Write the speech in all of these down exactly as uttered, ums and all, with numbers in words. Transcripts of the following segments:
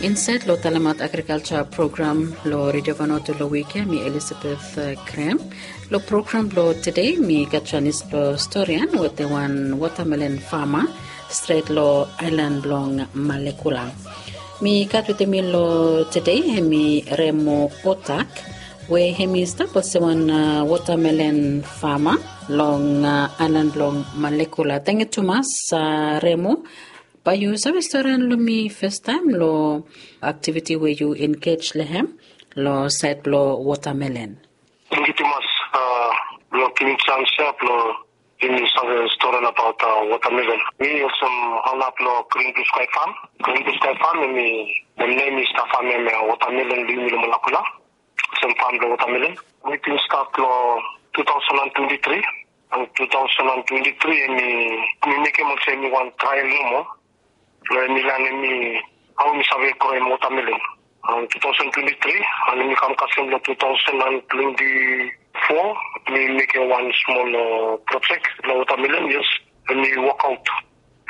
Insaed long talemaot agrikalja program long Redio Vanuatu long wik ya, mi Elizabeth Graham. Long program blong tede mi gat janis blong storian wetem wan watamelen fama stret long aelan blong Malekula. Mi gat wetem mi long tede hemi Remo Otak, we hemi stap olsem wan watamelen fama long aelan blong Malekula. Tangkiu tumas, Remo. Bae yu save storian long mi fastaem long aktiviti we yu engej long hem long saed blong watamelen? Tangkiu tumas blong givim jans ya blong yumi save storian abaot watamelen. Mi olsem ona blong Green Blue Sky Farm. Green Blue Sky Farm hemi, nem i stap famem watamelen long yumi long Malakula. Olsem fam blong watamelen. Mi bin stat long two thousand and twenty-three. An two thousand and twenty-three hemi, mi mekem olsem hemi wan trael nomo. Blong hemi lanem mi hao mi save groem watamelen. An two thousand twenty-three, an hemi kam kasem long two thousand and twenty-four, mi mekem wan smol projek long watamelen, yes. Hemi wokaot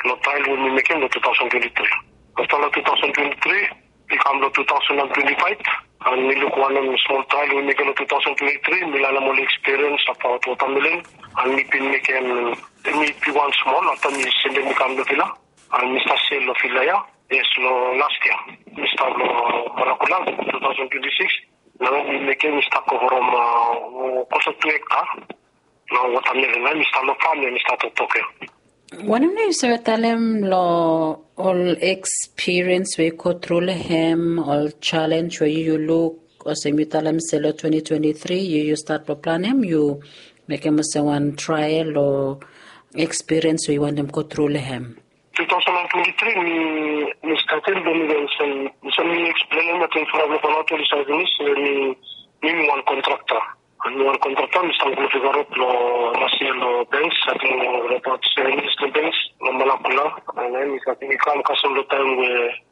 long trael we mi mekem long two thousand twenty-three. Afta long two thousand twenty-three, mi kam long two thousand and twenty-five, an mi luk wanem smol trael we mi mekem long two thousand twenty-three, mi lanem ol ekspiriens abaot watamelen, an mi bin mekem, mi bi wan smol, afta mi sendem i kam long vila, an mi stap sel long vila ya. Yes, long las yia mi stap long Malakula, two thousand twenty-six. Nao mi mekem, mi stap go from, uh, close to two hekta. Nao watamelen, nao mi stap long fam ya, mi stap toktok ya. Wanem nao yu save talem long ol ekspiriens we yu go tru long hem, ol jalenj we yu, yu luk, olsem yu talem se long twenty twenty-three yu, yu stat blong planem, yu mekem olsem wan trael o ekspiriens we yu wantem go tru long hem? Two thousand and twenty-three mi, mi statem blong mi go olsem, olsem mi eksplenem ating from long Vanuatu oli save finis, mi, mi, mi wan kontrakta. Mi wan kontrakta, mi stap go long Figaro long las yia long banks, ating long abaot seven years long banks long Malakula. An mi stap, mi kam kasem long taem we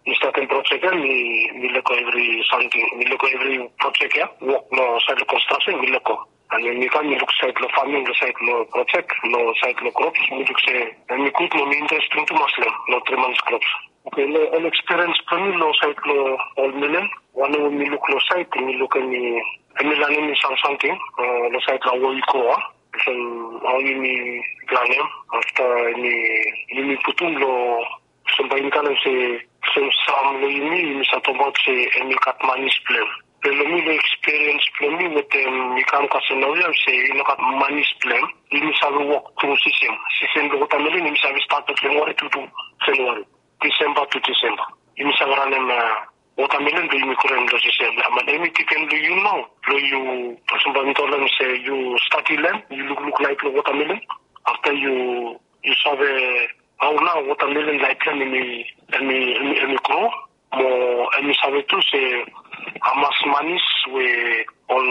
mi statem projek ya, mi, mi lego evri samting, mi lego evri projek ya, wok long saed long konstraksen mi lego. An mi kam mi luk saed long faming, long saed long projek, long saed long krops, mi luk se hemi gud, mo mi interesting tumas long hem, long tri mans krops. Oke, long ol ekspiriens blong mi long saed long ol melen, wanem we mi luk long saed, mi luk hemi, hemi lanem mi sam samting long saed long hao yu gro, a, olsem hao yumi planem, afta hemi, yumi putum long, olsem bae yumi talem se, olsem sam long yumi, yumi save tokbaot se hemi gat manis blong hem. Be long mi, long ekspiriens blong mi wetem mi kam kasem naoia, se i no gat manis blong hem. Yumi save wok tru sisen. Sisen blong watamelen hemi save stat long January tu, tu January. December tu December. Yumi save ranem watamelen blong yumi groem long sisen. Be hemi dipen long yu nao, blong yu, olsem bae mi talem se yu stadi lem, yu lukluk laef blong watamelen. Afta yu, yu save hao nao watamelen laef blong hem hemi, hemi, hemi gro. Mo hemi save tu se hamas manis we ol,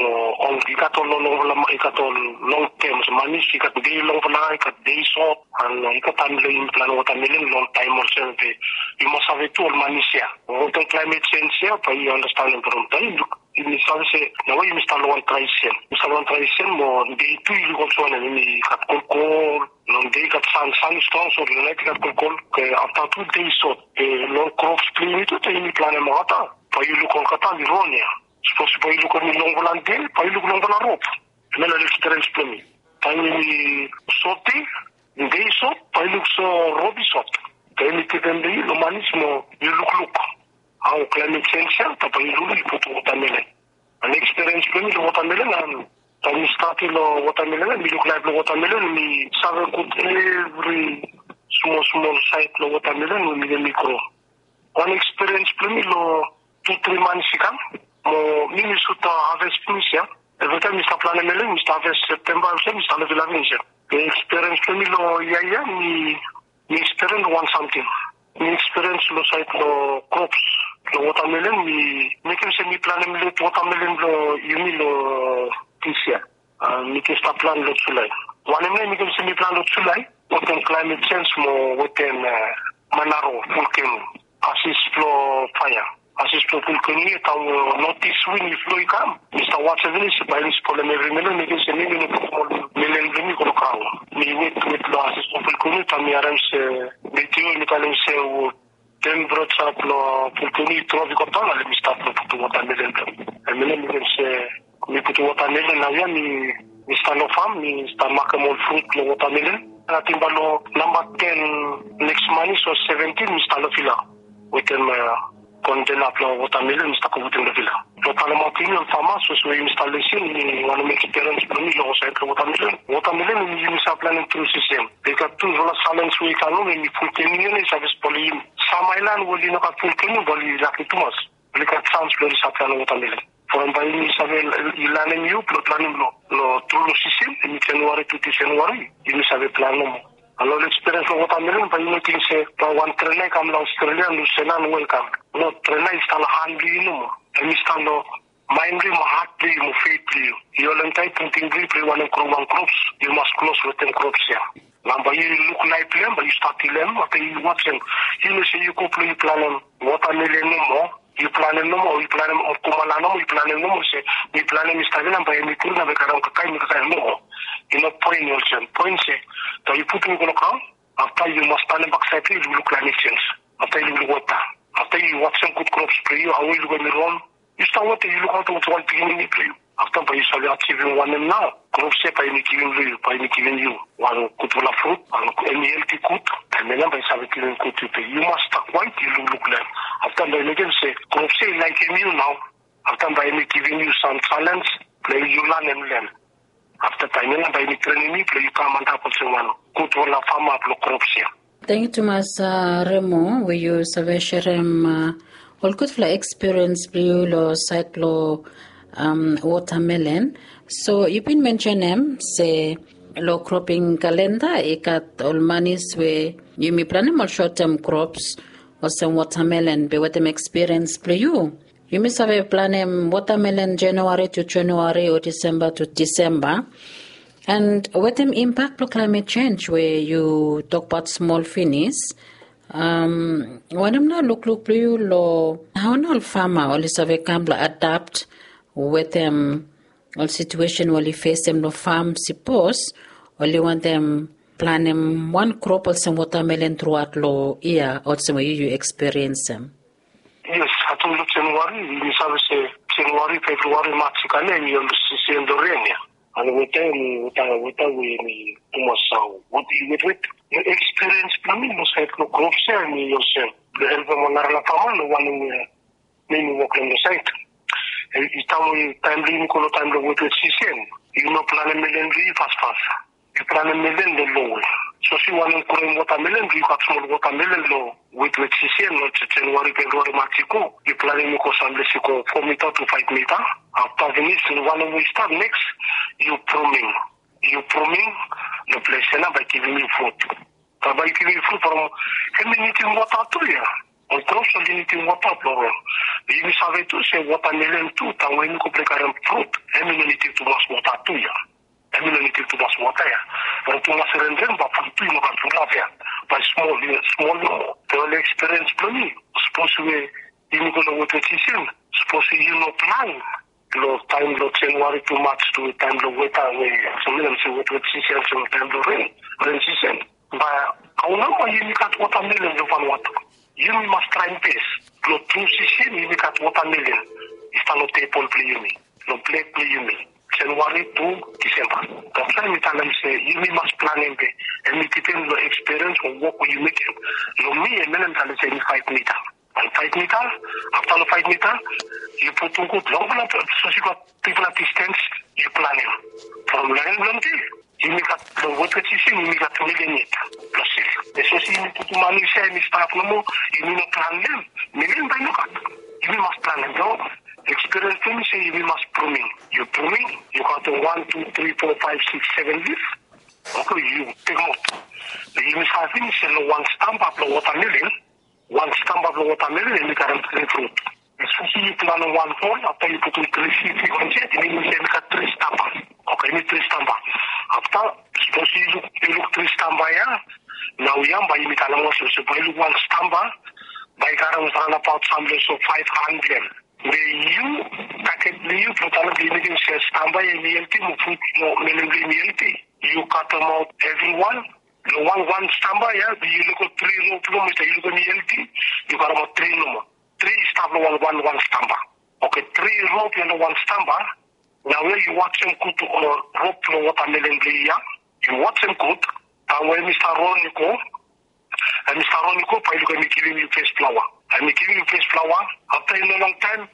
ol, i gat ol longfala, i gat ol long tem manis, i gat dei longfala, i gat dei sot, an i gat taem blong yumi planem watamelen long taem olsem. Be yu mas save tu ol manis ya. Wetem klaemet jenj ya bae yu andastanem from taem yu luk, yumi save se naoia yumi stap long wan drae sisen. Yumi stap long wan drae sisen, mo dei tu yu luk olsem wanem, hemi gat kolkol, long dei i gat san, san i strong, so long naet i gat kolkol. Oke, afta tu dei i sot. Oke, long krops blong yumi tu, taem yumi planem olgeta, bae yu luk olgeta hemi ron ya. Sapos bae yu luk hemi longfala dei, bae yu luk longfala rop. Hemia nao ekspiriens blong mi. Taem yumi sot dei, dei i sot, bae yu luk se rop i sot. Taem yumi dipen long yu long manis mo yu lukluk hao klaemet jenj ya, taem bae yu lukluk yu putum watamelen. An ekspiriens blong mi long watamelen, an taem mi stadi long watamelen, mi luk laef blong watamelen, mi save gud evri smol smol saed long watamelen we mi, we mi gro. Wan ekspiriens blong mi long tu tri mans i kam, mo mi, mi sud haves finis ya. Evritaem mi stap planem melen, mi stap haves Septemba olsem, mi stap long vila finis ya. Be ekspiriens blong mi long yia ya, mi, mi ekspiriens wan samting. Mi ekspiriens long saed long krops, long watamelen, mi mekem se mi planem let watamelen blong yumi long dis yia. A, mi jes stap plan long Julae. Wanem nao i mekem se mi plan long Julae? Wetem klaemet jenj mo wetem, a, manaro, volkeno, ases blong faea. Ases blong volkeno ya, taem notis win i flo i kam, mi stap wajem finis, bae i spolem evri melen, mekem se mi, mi no putum ol melen blong mi i go long graon. Mi wet, wet long ases blong volkeno, taem mi harem se meteo i talem se Tempereja blong fulkeni i drop i go daon, ale mi stat long putum watamelen blong mi. Hemia nao mi mekem se mi putum watamelen naoia mi mi stap long fam, mi stap makem ol frut blong watamelen. Ating bae long namba ten neks manis o seventin mi stap long vila wetem kontena blong watamelen mi stap go putum long vila. Blong talemaot yumi ol fama, sapos we yumi stap lisin, mi wantem mekem ekspiriens blong mi long saed blong watamelen. Watamelen yumi save planem tru sisen. I gat tufala salens we i kam long hem, hemi fulkeni, i save spolem yumi. Sam aelan we oli no gat fulkeni bae oli laki tumas, oli gat sans blong oli save planem watamelen. From bae yumi save, i lanem yu blong planem long, long tru long sisen, hemi Januari tu Januari, yumi save plan nomo. Long ekspiriens blong watamelen, bae yu no ting se bae wan trena i kam long Australia, New Zealand, welkam. No, trena i stap long han blong yu nomo. Hemi stap long maen blong yu mo hat blong yu mo feit blong yu. Yu holem taet tingting blong yu blong yu wantem gro wan krops, yu mas klos wetem krops ya. Nao bae yu luk laef blong hem, bae yu stadi long hem, afta yu wajem. Yu no se yu go blong yu planem watamelen nomo, yu planem nomo, yu planem kumala nomo, yu planem nomo se mi planem mi stap long hem, bae hemi gro nao bae i karem kakae, mi kakae, nomo. I no poen olsem. Poen se bae yu putum i go long graon, afta yu mas tanem baksaed blong yu, yu lukluk laemet sens. Afta yu lukluk weta. Afta yu wajem gud krops blong yu, hao i luk hemi ron. Yu stap wetem, yu lukaotem wetem wan pikinini blong yu. Afta bae yu save ajivim wanem nao? Krops ya bae hemi givim long yu, bae hemi givim yu wan gudfala frut, wan hemi helti gud. Hemia nao bae i save givim gud tu blong yu. Yu mas stap kwaet, yu lukluk long hem. Afta bae i mekem se krops ya i laekem yu nao. Afta bae hemi givim yu sam salens blong yu lanem long hem. Afta taem ya nao bae hemi trenem yu blong yu kam antap olsem wan gudfala fama blong krops ya. Tangkiu tumas, Remo, we yu save serem ol gudfala ekspiriens blong yu long saed blong watamelen. So yu bin mensenem se long kroping kalenda i gat ol manis we yumi planem ol sot tem krops olsem watamelen, be wetem ekspiriens blong yu, yumi save planem watamelen Januari tu Januari o Disemba tu Disemba. And wetem impak blong klaemet jenj we yu tokbaot smol finis, wanem nao lukluk blong yu long hao nao ol fama oli save kam blong adapt wetem ol situesen we oli fesem long fam, sapos oli wantem planem wan krop olsem watamelen truaot long yia, olsem we yu, yu ekspiriensem? Yes, ating long Januari, yumi save se Januari, Februari, Maj i kam ya, hemi ol sisen blong ren ya. And weta, hemi weta, weta we hemi tumas, wet, wet, wet. Long ekspiriens blong mi long saed long krops ya, hemi olsem blong helpem wan narafala fama long wanem we mi mi wok long hem long saed. I taem we, taem blong yumi go long taem blong wetwet sisen, yu no planem melen blong yu fasfas. Yu planem melen long longwe. Sapos yu wantem groem watamelen, yu gat smol watamelen long wetwet sisen, long Januari, Februari, Maj i go, yu planem i go samplesi i go fo mita tu faef mita. Afta finis, wanem we i stap neks, yu pruming. Yu pruming long ples ya nao bae i givim yu frut. Bae i givim yu frut from hemi nidim wota tu ya. Ol krops oli nidim wota blong ron. Yumi save tu se watamelen tu, taem we yumi go blong karem frut, hemi no nidim tumas wota tu ya. Hemi no nidim tumas wota ya. From tumas renren bae frut tu i no gat fulap ya. Bae smol, smol nomo. Be long ekspiriens blong mi, sapos we yumi go long wetwet sisen, sapos yu no plan long taem blong Januari tu Maj tu taem blong weta we, so mi no se wetwet sisen, so taem blong ren, ren sisen. Bae hao nao bae yumi gat watamelen long Vanuatu? Yumi mas traem bes blong tru sisen yumi gat watamelen i stap long tebol blong yumi, long plate blong yumi, Januari tu Disemba. That's why mi talem se yumi mas planem, be hemi dipend long ekspiriens o wok we yu mekem. Long mi, hemia nao mi talem se hemi faef mita. Wan faef mita, afta long faef mita, yu putum gud longfala, sapos yu gat bigfala distens, yu planem. From long en blong de, yumi gat long wetwet sisen, yumi gat melen yet blong sel. Be sapos yumi putum manis ya, hemi stap nomo, yumi no planem, melen bae i no gat. Yumi mas planem, no? Ekspiriens blong mi se yumi mas pruming. Yu pruming, yu kaontem wan, tu, tri, fo, faef, sikis, seven lif. Oke, yu tekemaot. Be yumi save finis se long wan stamba blong watamelen, wan stamba blong watamelen hemi karem tri frut. Sapos yu planem wan hol, afta yu putum tri sid i go insaed, i minim se hemi gat tri stamba. Oke, hemi tri stamba. Afta, sapos yu luk, yu luk tri stamba ya, naoia bae yumi talem olsem se bae yu luk wan stamba bae i karem wan nabaot samting olsem faef han blong hem. Be yu, taget blong yu, blong talem blong yu mekem se stamba ya hemi helti mo frut mo melen blong hem i helti, yu katemaot evriwan, Long wan wan stamba ya, yu lukim tri rop nomo i stap, yu lukim em i helti, yu karemaot tri nomo. Tri i stap long wan wan wan stamba. Oke, tri rop ya long wan stamba. Naoia yu wajem gud rop long wotamelen blong yu ya. Yu wajem gud. Taem we em i stap ron i go, em i stap ron i go, bae yu lukim em i givim yu fes flaoa. Em i givim yu fes flaoa. Afta i no longtaem,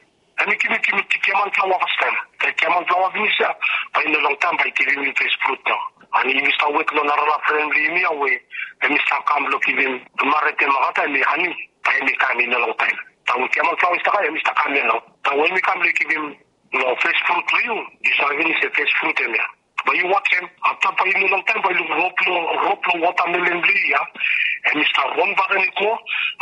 em i givim, givim giaman flaoa fastaem. Afta giaman flaoa finis ya, bae i no longtaem bae i givim yu fes frut nao. Ani yumi stap wet long narafala fren blong yumi ya we em i stap kam blong givim maret ya, nogat taem em i ani, bae em i kam i no longtaem. Taem we giaman flaoa i stap kam, em i stap kam ya nao. Taem we em i kam blong givim long fes frut blong yu, yu save finis se fes frut hemia. Bae yu wajem, afta bae i no longtaem bae yu luk rop long, rop long wotamelen blong yu ya. Em i stap ron bakegen i go,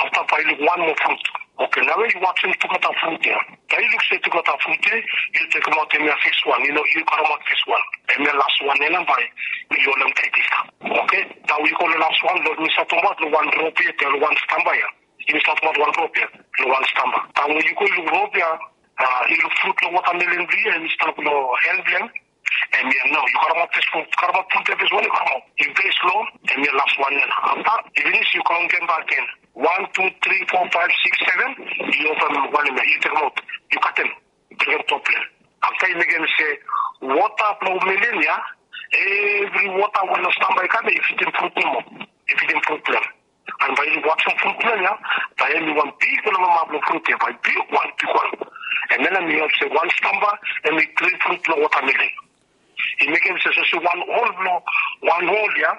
afta bae yu luk wan moa frut. Oke, naoia yu wajem tugeta frut ya. Bae yu luk se tugeta frut ya, yu tekemaot hemia fes wan, yu no, yu karemaot fes wan. Hemia las wan ya nao bae yu holem taet i stap. Oke, taem we yu go long las wan, long, mi stap tokbaot long wan rop ya, long wan stamba ya. Yu stap tokbaot wan rop ya, long wan stamba. Taem we yu go yu luk rop ya, a, yu luk frut long wotamelen blong yu ya, em i stap long han blong em. Hemia nao, yu karemaot fes frut, karemaot frut ya fes wan yu karemaot. Yu fes long, hemia las wan ya nao. Afta, yu finis yu kaontem bakegen. Wan, tu, tri, fo, faef, sikis, seven, yu opem wan hemia, yu tekemaot, yu katem, yu bringim top blong hem. Afta yu mekem se, wota blong melen ya, evri wota we long stamba i kam ya, i fitim frut nomo. I fitim frut blong hem. An bae yu wajem frut blong hem ya, bae hemi wan bigfala mama blong frut ya, bae bigwan, bigwan. An nao hemi help se wan stamba hemi tri frut blong wotamelen. I mekem se, so se wan hol blong, wan hol ya,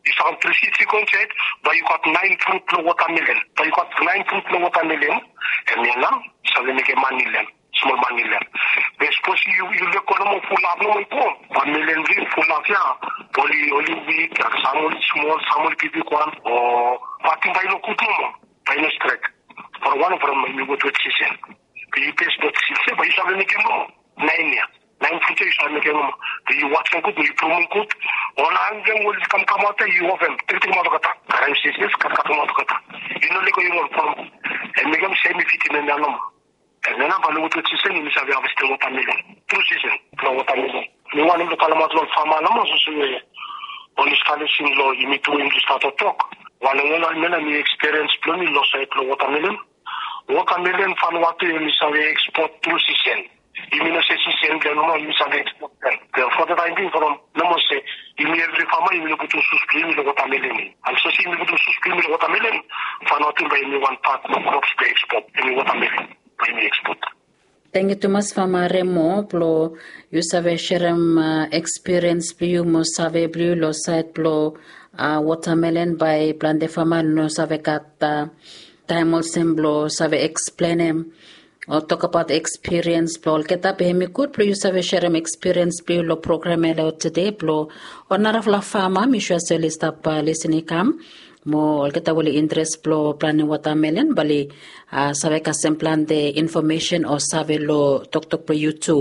i stap kam tri sikis inches, bae yu gat naen frut blong wotamelen. Bae yu gat naen frut blong wotamelen. Hemia nao i save mekem mane long hem. Smol mane long hem. Be sapos yu, yu lego nomo, fulap nomo i go, wan melen blong yu fulap ya. Oli, oli wik, an sam oli smol, sam oli bigbigwan, o patim bae i no gud nomo, bae i no stret. From wan, from hemi wetwet sisen. Be yu bes notis se bae yu save mekem nomo naen ya. Naen frut ya yu save mekem nomo. Be yu wajem gud, be yu prumum gud. Ol han blong hem we oli kamkamaot ya, yu opem, tekemaot olgeta. Karem sisas, katkatemaot olgeta. Yu no lego, yu no prumum. Hemi mekem se hemi fitim hemia nomo. An nao bae long wetwet sisen yumi save havestem wotamelen. Tru sisen blong wotamelen. Mi wantem blong talemaot long fama nomo, so se we oli stap lisin long yumi tu we yumi stap toktok. Wan long wan, hemia nao hemi ekspiriens blong mi long saed blong wotamelen. Wotamelen Vanuatu yumi save ekspot tru sisen. Yumi no se sisen blong hem nomo yumi save ekspot blong hem. Be from the time being from nomo se yumi evri fama yumi no putum sus blong yumi long wotamelen. An so se yumi putum sus blong yumi long wotamelen, Vanuatu bae hemi wan pat blong krops blong ekspot, hemi wotamelen. Bae yumi ekspot. Tangkiu tumas Fama Remo blong yu save serem, a, ekspiriens blong yu mo save blong yu long saed blong, a, wotamelen. Bae plante fama no save gat, a, taem olsem blong save eksplenem o tokbaot ekspiriens blong olgeta. Be hemi gud blong yu save serem ekspiriens blong yu long program ya long tede blong ol narafala fama, mi sua se oli stap, a, lisin i kam. Mo olgeta we oli interes blong planem wotamelen bae oli, a, save kasem plante infomesen o save long toktok blong yu tu.